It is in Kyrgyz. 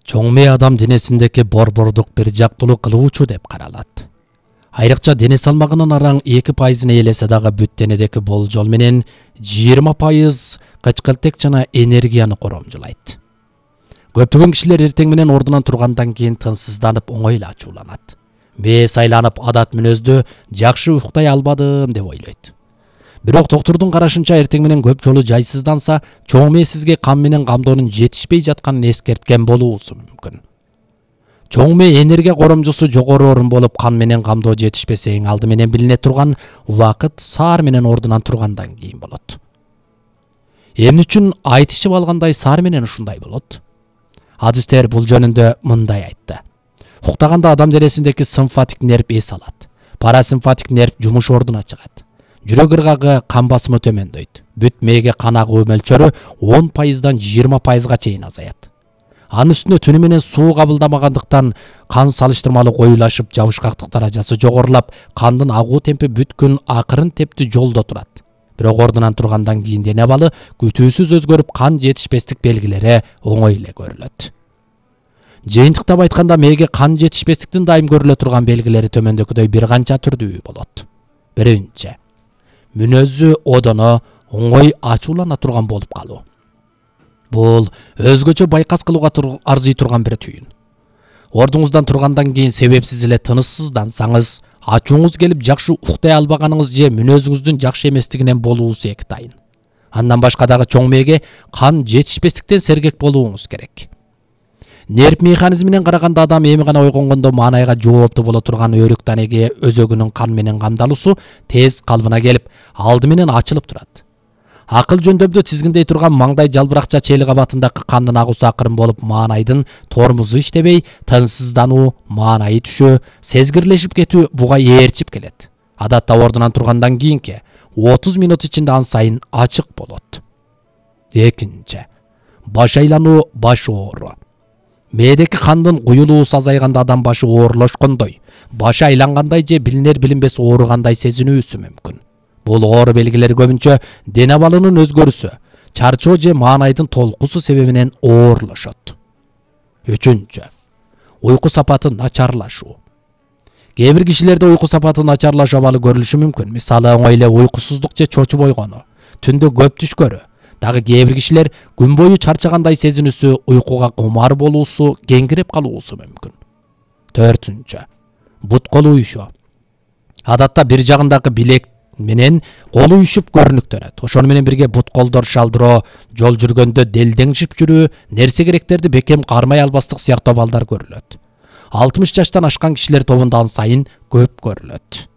Чоң мээ адам денесиндеги борбордук бир жактылуу кылуучу деп каралат. Айрыкча дене салмагынын араң 2% ээлесе дагы бүт денедеги болжол менен 20% кычкылтек жана энергияны коромжулайт. Көптөгөн кишилер эртең менен ордунан тургандан кийин тынчсызданып оңой эле ачууланат. Мээ сайланып адат мүнөздө жакшы уктay албадым деп ойлойт. Бирок доктурдун карашынча эртең менен көп жолу жайсызданса, чоң мээ сизге кан менен камдоонун жетишпей жатканын эскерткен болуусу мүмкүн. Чоң мээ энергия коромжусу жогору орун болуп, кан менен камдоо жетишпесе эң алды менен билине турган убакыт саар менен ордунан тургандан кийин болот. Эмне үчүн айтышып алгандай саар менен ушундай болот? Адистер бул жөнүндө мындай айтты. Уктаганда адам денесиндеги симфатик нерв эс алат. Парасимфатик нерв жумуш ордуна чыгат. Жүрөк ыргагы кан басымы төмөндөйт. Бүт мээге кан агуу мөлчөрү 10%дан 20%га чейин азаят. Анын үстүнө түнү менен суу кабылдамагандыктан кан салыштырмалуу коюлашып, жабышкактык даражасы жогорулап, кандын агуу темпи бүт күн акырын тепти жолдо турат. Бирок ордунан тургандан кийин дене абалы күтүүсүз өзгөрүп, кан жетишпестик белгилери оңой эле көрүлөт. Жыйынтыктап айтканда, мээге кан жетишпестиктин дайым көрүлө турган белгилери төмөндөгүдөй бир канча түрдүү болот. Биринчи, мүнөзү одоно оңой ачуулана турган болуп калуу. Бул өзгөчө байкас кылууга арзый турган бир түйүн. Ордуңуздан тургандан кийин себепсиз эле тынычсыздансаңыз, ачууңуз келип жакшы уктай албаганыңыз же мүнөзүңүздүн жакшы эместигинен болуусу эки тайын. Андан башка дагы чоң мээге кан жетишпестиктен сергек болууңуз керек. Нерв механизминен караганда адам эми гана ойгонгондо маанайга жооптуу боло турган өрүк данеги өзөгүнүн кан менен камдалуусу тез калыбына келип, алды менен ачылып турат. Акыл жөндөмдө тизгиндей турган маңдай жалбыракча чели кабатындагы кандын агуусу акырын болуп, маанайдын тормузу иштебей, тынчсыздануу, маанайы түшүү, сезгирлешип кетүү буга ээрчип келет. Адатта ордунан тургандан кийинки 30 минут ичинде ан сайын ачык болот. Экинчи, баш айлануу, баш оору. Мээдеги кандын куюлуусу азайганда адам башы оорлошкондой, башы айлангандай же билинер-билинбес ооругандай сезинүүсү мүмкүн. Бул оору белгилери көбүнчө дене абалынын өзгөрүүсү, чарчоо же маанайдын толкусу себебинен оорлошот. Үчүнчү, уйку сапаты начарлашуу. Кээ бир кишилерде уйку сапаты начарлашуу абалы көрүлүшү мүмкүн. Мисалы, оңой эле уйкусуздук же чочуп ойгонуу, түндө көп түшкөрүү. Дагы кээ бир кишилер күн бою чарчагандай сезинүүсү, уйкуга кумар болуусу, кеңирип калуусу мүмкүн. Төртүнчү, бут колу уюшуу. Адатта бир жагындагы билек менен колу уюшуп көрүнүктөнөт. Ошону менен бирге бут колдор шалдыроо, жол жүргөндө делдеңшип жүрүү, нерсе керектерди бекем кармай албастык сыяктуу абалдар көрүлөт. 60 жаштан ашкан кишилер тобунда ан сайын көп көрүлөт.